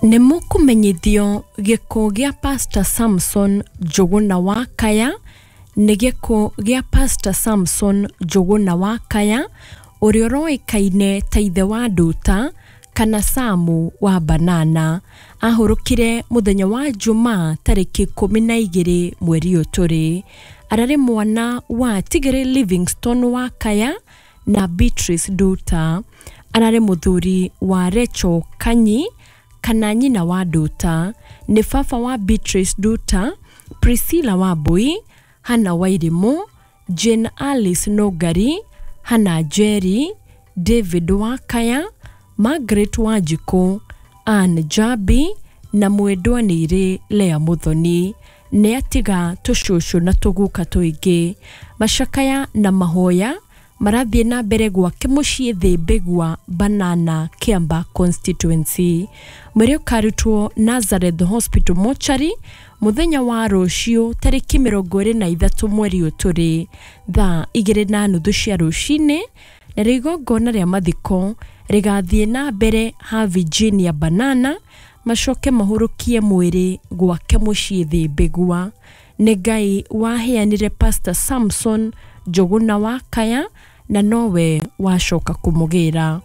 Nĩ mũkũmenyithio gĩkuũ gĩa Pastor Samson Njũgũna wa Kaya nĩ gĩkuũ gĩa Pastor Samson Njũgũna wa Kaya ũrĩa ũroĩkaine ta ithe wa Nduta kana Samu wa Banana. Ahurũkire mũthenya wa Jumaa tarĩki 12 mweri ũyũ tũrĩ. Ararĩ mwana wa Tigere Livingstone wa Kaya na Beatrice Nduta. Ararĩ mũthuri wa Rachel Kanyi kana nyina wa Nduta. Nĩ baba wa Beatrice Nduta, Priscilla Wambui, Hannah Wairimu, Jane Alice Nũngari, Hannah Njeri, David Wakaya, Margaret Wanjikũ, Ann Njambi na mwendwa nĩirĩ Lea Muthoni. Nĩ atiga tũcũcũ na tũguka tũingĩ. Macakaya na mahoya marathiĩ na mbere gwake mũciĩ Thĩmbĩgua Banana Kiamba constituency. Mwĩrĩ ũkarutwo Nazareth Hospital Mortuary mũthenya wa rũciũ tarĩki 23 mweri ũyũ tũrĩ thaa 2:30 cia rũcinĩ, narĩo igongona rĩa mathiko rĩgathiĩ na mbere ha Virginia Banana, macoke mahũrũkie mwĩrĩ gwake mũciĩ Thĩmbĩgua. Nĩ Ngai waheanire Pastor Samson Njũgũna wa Kaya na nowe wacoka kũmũgĩra.